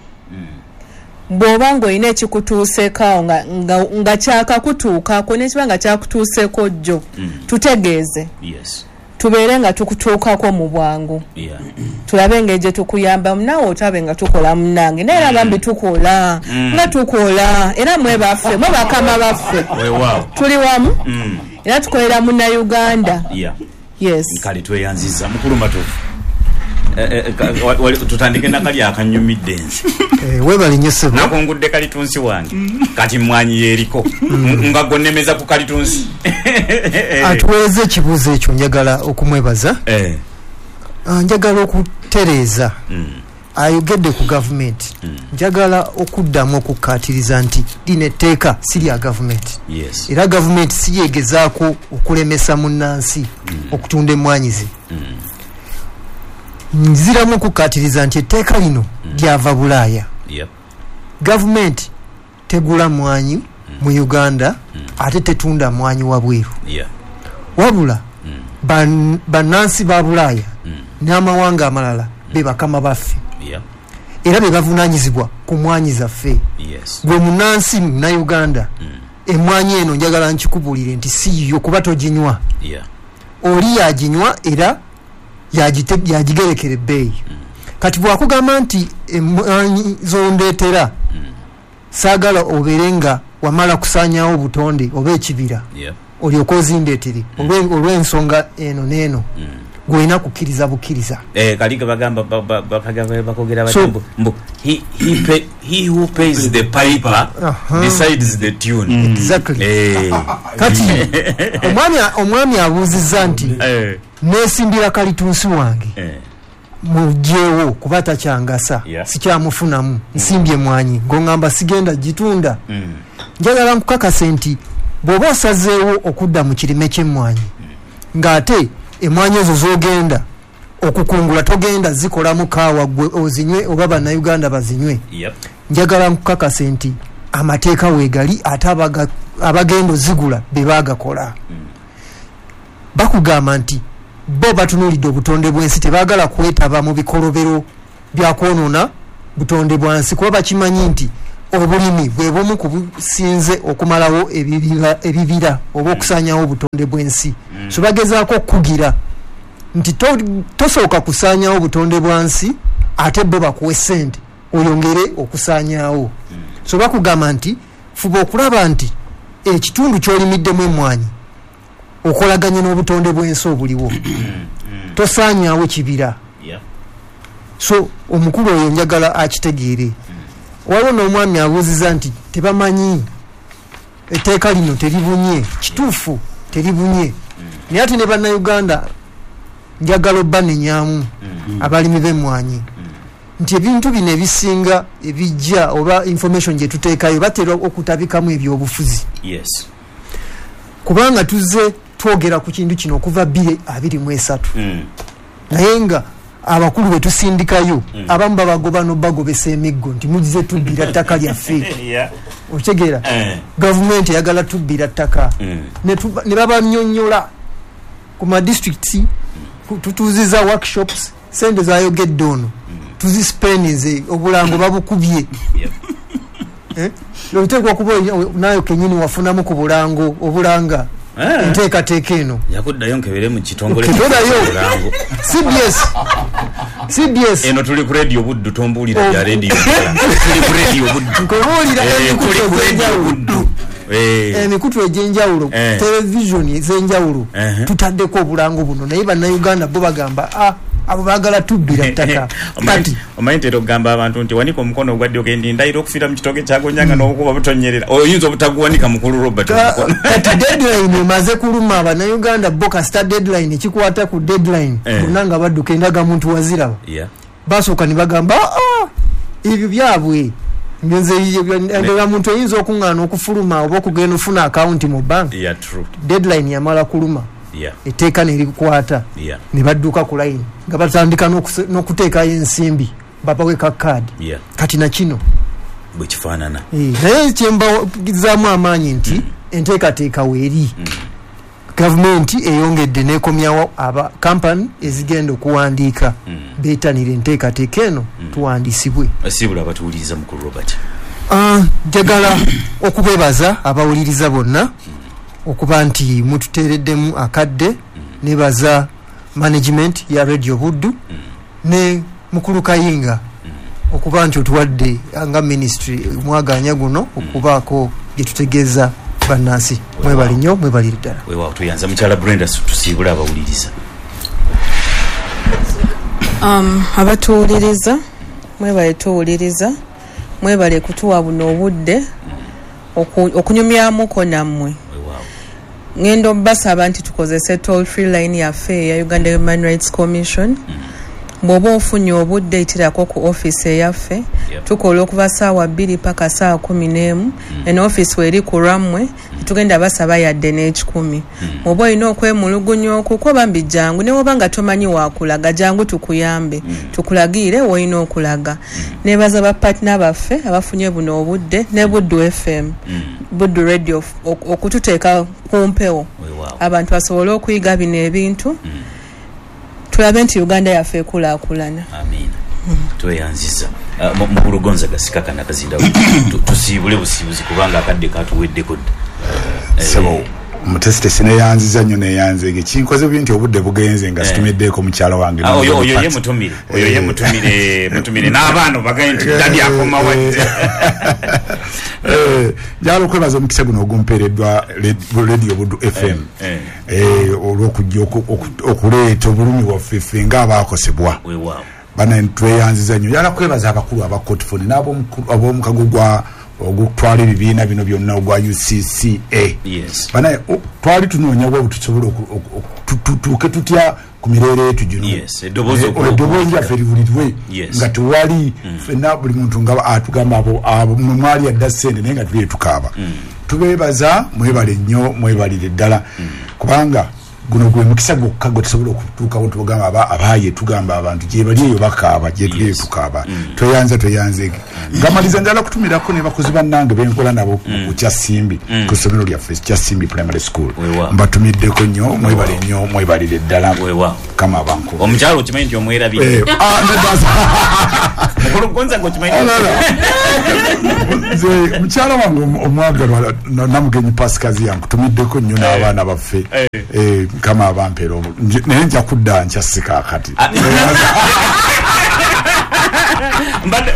Bw'oba ng'olina ekikutuuseeko awo nga, nga, nga kyakakutuukako n'ekiba nga kyakutuuseeko jjo, tutegeeze. Yes. Tubeere nga tukutuukako mu bwangu. Yeah. Tulabe engeri gye tukuyambamu naawe otabe nga tukola munnange. Naye era bambi tukola, nga tukola era mwe baffe, mwe bakama baffe. Tuli wamu era tukolera Munnayuganda. Yeah. Yes. Kale tweyanziza mukulu Matovu. Tutandike nakali akanyumidde nze. Weebale nnyo ssebo. Nakungudde kalitunsi wange. Kati mmwanyi yeeriko. Nga gonnemeza ku kalitunsi. Atuweereza ekibuuzo ekyo njagala okumwebaza. Njagala okutereeza. Ayogedde ku gavumenti. Njagala okuddamu okukkaatiriza nti lino etteeka si lya gavumenti. Era gavumenti si yeegezaako okulemesa munnansi okutunda emmwanyi ze. Nziramu okukkaatiriza nti etteeka lino lyava Bulaaya. Gavumenti tegula mmwanyi mu Uganda ate tetunda mmwanyi wabweru. Wabula bannansi ba Bulaaya n'amawanga amalala be bakama baffe. Era be bavunaanyizibwa ku mmwanyi zaffe. Gwe munnansi Munnayuganda, emmwanyi eno njagala nkikubuulire nti si yiyo kuba toginywa. Oli yaginywa era yagigerekera ebbeeyi. Kati bwakugamba nti emmwanyi zondeetera saagala obeere nga wamala kusaanyaawo obutonde oba ekibira, olyoke ozindeetere olw'ensonga eno n'eno, gw'olina kukkiriza bukkiriza. Kali bagamba bakogera bati mbu he who pays the piper decides the tune. Exactly. Kati omwami abuuzizza nti neesimbira kalitunsi wange mugyewo kuba takyangasa, sikyamufunamu, nsimbye mwanyi ng'ongamba sigenda gitunda. Njagala nkukakase nti bw'oba osazeewo okudda mu kirime ky'emmwanyi ng'ate emmwanyi ezo z'ogenda okukungula togenda zikolamu kaawa gwe ozinywe oba bannayuganda bazinywe. Yep. Njagala nkukakase nti amateeka weegali ate abagenda ozigula be baagakola. Mm. Bakugamba nti bo batunuulidde obutonde bw'ensi, tebaagala kwetaba mu bikolobero bya kwonoona butonde bwa nsi, kuba bakimanyi nti obulimi bwe bumu ku businze okumalawo ebibira, ebibira oba okusaanyawo obutonde bw'ensi. Mm. So bagezaako okukugira nti tosooka kusaanyawo obutonde bwa nsi ate bo bakuwe ssente oyongere okusaanyaawo. Mm. So bakugamba nti fuba okulaba nti ekitundu ky'olimiddemu emmwanyi okolaganye n'obutonde bw'ensi obuliwo. Mm. Tosaanyaawo kibira. Yeah. So omukulu oyo njagala akitegeere. Mm. Waliwo n'omwami abuuziza nti tebamanyi etteeka lino teribunye. Kituufu teribunye. Mm. Naye ate ne bannayuganda njagala obbanenyamu mm. abalimi b'emmwanyi mm. nti ebintu bino ebisinga ebijja oba information gye tuteekayo batera okutabikamu ebyobufuzi. Yes. Kubanga tuzze twogera ku kintu kino okuva bbiri abiri mu esatu. Mm. Naye nga abakulu be tusindikayo mm. abamu babagoba n'obagobesa emiggo nti mujje tubbira ttaka lyaffe. Yeah. Okitegeera? Eh. Gavumenti eyagala tubbira ttaka. Mm. Ne babanyonnyola ku ma districts, tutuuziza workshops, sente zayogedde ono mm. tuzispendinze, obulango babukubye. Yep. Eh? Oteekwa okuba nayo kennyini wafunamu ku bulango obulanga eh. enteekateeka eno. Yakuddayo nkebere mu kitongole ky'obulango. C B S. C B S. Eno tuli ku radio Buddu, tombuulira bya radio. Tuli ku radio Buddu. Nkubuulira tuli ku radio Buddu. Emikutu egy'enjawulo, television ez'enjawulo, tutaddeko obulango buno naye bannayuganda bo bagamba ah abo baagala tubbira ttaka. Kati omanyi ntera okugamba abantu nti wanika omukono ogwa ddyo gendi ndayira okufiira mu kitooke kyagonyanga n'obukuba butonyerera. Oyinza obutaguwanika mukulu Robert omukono. Kati deadline emaze kuluma bannayuganda bo kasita deadline ekikwata ku deadline bonna nga badduka endagamuntu waziraba. Basooka ne bagamba ah ebyo byabwe. Nze endagamuntu eyinza okuŋŋaana okufuluma oba okugenda ofuna akawunti mu bank. Yeah, true. Deadline yamala kuluma. Yeah. Etteeka ne likukwata. Yeah. Ne badduka ku line nga batandika n'okuteekayo ensimbi babawe ka kaadi. Yeah. Kati na kino bwe kifaanana. Naye kyembazaamu amaanyi nti mm. enteekateeka weeri. Mm. Gavumenti eyongedde n'ekomyawo aba kampani ezigenda okuwandiika mm. beetanire enteekateeka eno mm. tuwandiisibwe. Asiibula abatuwuliriza mukulu Robert. Njagala okubeebaza abawuliriza bonna mm. okuba nti mututeereddemu akadde. mm. Nebaza management ya Radio Buddu mm. ne mukulu Kayinga mm. okuba nti otuwadde nga ministry mwaganya guno okubaako gye tutegeeza bannansi. Mwebali nnyo, mwebalire ddala. Weewaawo, tuyanza mukyala Brenda, tusiibule abawuliriza. Um, abatuwuliriza mwebale tuwuliriza, mwebale kutuwa buno obudde okunyumyamuko nammwe. Ngendo basaba nti tukozese toll free line yaffe ya Uganda Human Rights Commission. Bw'oba ofunye obudde itirako ku office eyaffe. Tukola okuva ssaawa bbiri paka ssaawa kumi n'emu. Eno office weeri ku lwammwe, tugenda basaba yadde n'ekikumi. Bw'oba olina okwemulugunya okukwo bambi jangu, ne bw'oba nga tomanyi waakulaga jangu tukuyambe, tukulagire w'olina okulaga. Neebaza ba partner baffe abafunye buno obudde ne Buddu F M, Buddu Radio okututeeka ku mpewo abantu basobole okuyiga bino ebintu. Tulabe nti Uganda yaffe ekulaakulana. Amiina. Tweyanziza. Mukulu Gonzaga sikakana kazinda tusiibule busiibuzi kubanga akadde katuweddeko dda. Sebo mutesitesi neyanziza nnyo neyanzeege kinkoze bubi nti obudde bugenze nga situmiddeeko mukyala wange. Oyo oyo ye mutumire. Oyo ye mutumire mutumire n'abaana bagaye nti daddy akoma wadde. Eh njagala okwebaza omukisa guno ogumpeereddwa Radio Buddu F M eh olw'okujja okuleeta obulumi bwaffe ffe ng'abaakosebwa. Weewaawo. Bana tweyanziza nnyo. Njagala kwebaza abakulu aba Cotfone n'ab'omukago gwa ogutwala ebibiina bino byonna ogwa U C C A. Yes. Bana twali tunoonya bwe tusobola tutuuke tutya ku mirere yetu gino. Yes, eddoboozi eddoboozi lyaffe liwulirwe nga tewali ffenna buli muntu nga atugamba abo abo mwali adda ssente naye nga tuli tukaaba. Tubeebaza mwebale nnyo mwebalire ddala kubanga Guno gwe mukisa gwokka gwe tusobola okutuukawo, tugamba abaaye, tugamba abantu gye bali eyo bakaaba, gye tuli eyo tukaaba. Tweyanza, tweyanzeege. Ngamaliza njala kutumirako ne bakozi bannange benkola nabo ku Kyasimbi, ku ssomero lyaffe Kyasimbi Primary School. Mbatumiddeko nnyo, mwebale nnyo, mwebalire ddala. Kama abanku. Omukyalo okimanyi nti omwerabidde. Mukulu Gonza ng'okimanyi. Nze mukyala wange omwagalwa Namugenyi Pasikazi yankutumiddeko nnyo n'abaana baffe. Kama abampeera, naye nja kudda nkyasika akati.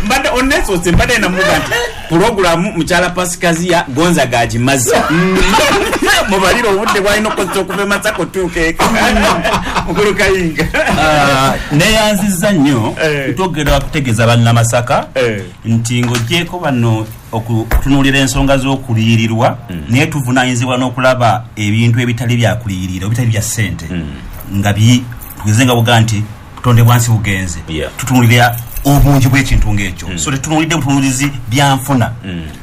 Mbadde onesose, mbadde namuga nti pulogulaamu mukyala Pasikaziya Gonza gagimaze. Mubalire obudde bwalina okukozesa okuva e Masaka otuuka eka. Mukulu Kayinga. Neeyanzizza nnyo twogera kutegeeza bannamasaka nti ng'oggyeeko bano okutunuulira ensonga z'okuliyirirwa, naye tuvunaanyizibwa n'okulaba ebintu ebitali byakuliyirira, ebitali bya ssente nga tugeze nga buga nti butonde bwansi bugenze, tutunuulira obungi bw'ekintu ng'ekyo. So tetunuulidde butunuulizi byanfuna,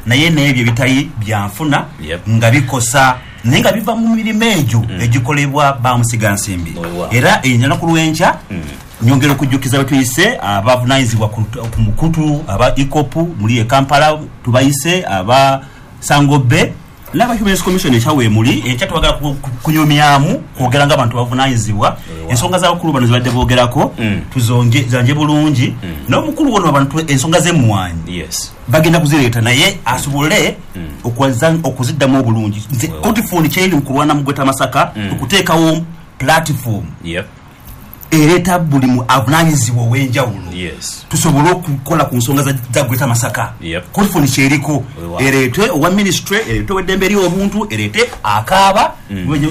naye n'ebyo ebitali byanfuna nga bikosa, naye nga biva mu mirimu egyo egikolebwa bamusigansimbi. Era ennaku lw'enkya nyongera okujjukiza betuyise abavunaanyizibwa ku mukutu aba EACOP muli e Kampala, tubayise aba Sangobe n'aba Human Rights Commission ekyawe muli enkya twagala kunyumyamu kwogera ng'abantu bavunaanyizibwa ensonga z'abakulu bano zibadde boogerako, tuzonje zanje bulungi n'omukulu wono abantu ensonga z'emmwanyi bagenda kuzireeta, naye asobole okuziddamu obulungi. Nze Cotifone kyeri mu kulwana mu Greater Masaka okuteekawo platform ereeta buli mu avunaanyizibwa ow'enjawulo tusobole okukola ku nsonga za Greater Masaka. Cotifone kyeriko ereete owa ministry, ereete ow'eddembe ery'obuntu, ereete akaaba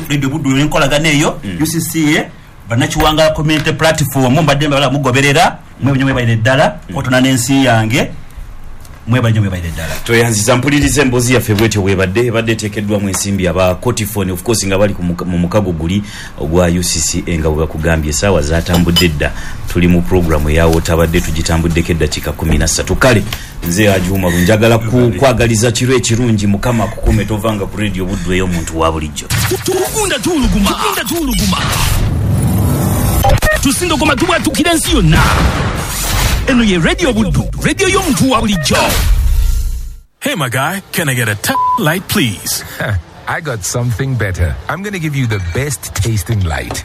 Radio Buddu n'enkolagana eyo U C C A Bannakiwanga Community Platform. Mbadde mbala mugoberera mwe mwebalire ddala kotona n'ensi yange, mwebale nnyo, mwebalire ddala. Tweyanziza mpuliriza emboozi yaffe bwetyo bwebadde ebadde eteekeddwamu ensimbi aba Cotifone, of course nga bali mu mukago guli ogwa U C C A nga bwe bakugambye essaawa zaatambudde dda. Tuli mu pulogulaamu eyawo tabadde tugitambuddeko eddakiika kumi na ssatu. Kale nze Ajumaru njagala kwagaliza kiro ekirungi, Mukama akukume tovanga ku Radio Buddu ey'omuntu wa bulijjo. Tugunda tuuluguma, tugunda tuuluguma, tusindogoma tubwatukira ensi yonna. Eno ye Radio Buddu, radio y'omuntu wa bulijjo. Hey my guy, can I get a t- light please? I got something better. I'm gonna give you the best tasting light.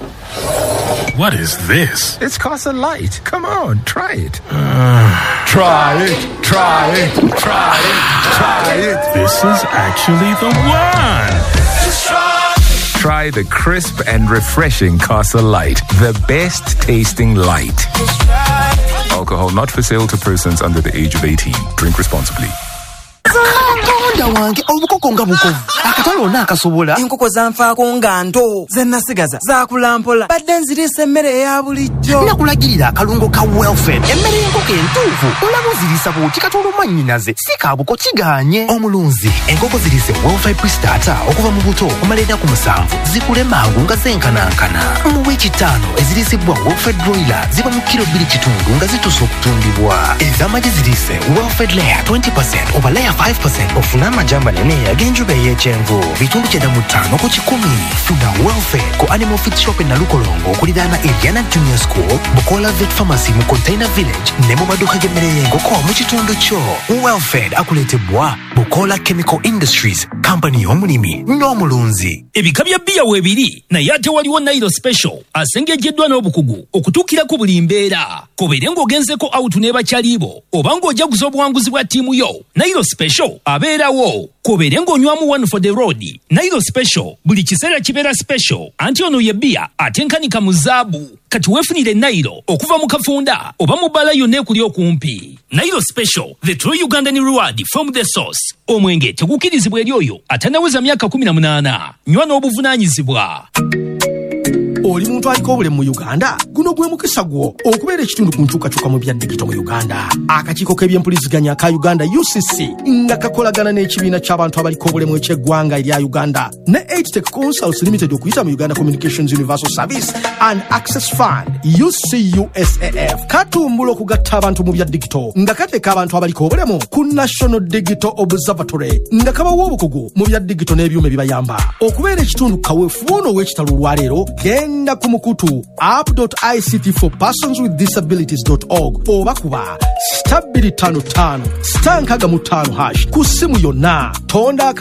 What is this? It's Casa Light. Come on, try it. Uh, try it, try it, try it, try it. This is actually the one. Just try. Try the crisp and refreshing Casa Light, the best tasting light. Alcohol not for sale to persons under the age of eighteen. Drink responsibly. Katonda wange, obukoko nga bukovu, akatale ona akasobola. Enkoko zanfaako nga nto, ze nasigaza zaakula mpola, badde nziriisa emmere eya bulijjo. Nakulagirira akalungo ka Welfare, emmere y'enkoko entuufu. Olaba oziriisa bw'oti katono mwannyinaze, si kaabuko kigaanye. Omulunzi, enkoko ziriise Welfare Pre-Starter okuva mu buto okumala ennaku musanvu, zikule mangu nga zenkanankana. Mu wiiki ttaano eziriisibwa Welfare Broiler ziba mu kiro bbiri kitundu nga zituuse okutundibwa. Ez'amagi ziriise Welfare Layer twenty percent oba Layer five percent ofuna amagi amanene ag'enjuba ey'ekyenvu bitundu kyenda mu ttaano ku kikumi. Funa Welfare ku Animal Feed Shop e Nalukolongo okuliraana Eliana Junior School, Bukola Vet Pharmacy mu Container Village ne mu maduuka g'emmere y'enkoko mu kitundu kyo. Welfare akuleetebwa Bukola Chemical Industries, kampani y'omulimi n'omulunzi. Ebika bya bbiya weebiri, naye ate waliwo Nailo Special asengejjeddwa n'obukugu okutuukira ku buli mbeera. Kobeere ng'ogenzeko out ne bakyalibo oba ng'ojaguza obuwanguzi bwa ttiimu yo, Nailo Special abeerawo. Kobeere ng'onywamu one for the road, Nailo Special buli kiseera kibeera special, anti ono ye bbiya atenkanika mu zaabu. Kati weefunire Nailo okuva mu kafunda oba mu bbaala yonna ekuli okumpi. Nailo Special, the true Ugandan reward from the source. Omwenge tegukkirizibwa eri oyo atannaweza myaka kumi na munaana. Nywa n'obuvunaanyizibwa. Oli muntu aliko obulemu mu Uganda? Guno Guno gwe mukisa gwo okubeera ekitundu ku nkyukakyuka mu bya digito mu Uganda. Akakiiko k'ebyempuliziganya ka Uganda U C C nga kakolagana n'ekibiina ky'abantu abaliko obulemu eky'eggwanga erya Uganda ne Eightech Consults Limited okuyita mu Uganda Communications Universal Service and Access Fund U C U S A F katumbula okugatta abantu mu bya digito nga kateeka abantu abaliko obulemu ku National Digital Observatory nga kabawa obukugu mu bya digito n'ebyuma ebibayamba okubeera ekitundu kaweefube ono ow'ekitalo olwaleero. Genda ku mukutu app dot i c t for persons with disabilities dot org oba kuba star bbiri ttaano ttaano star nkaaga mu ttaano hash ku ssimu yonna. Tonda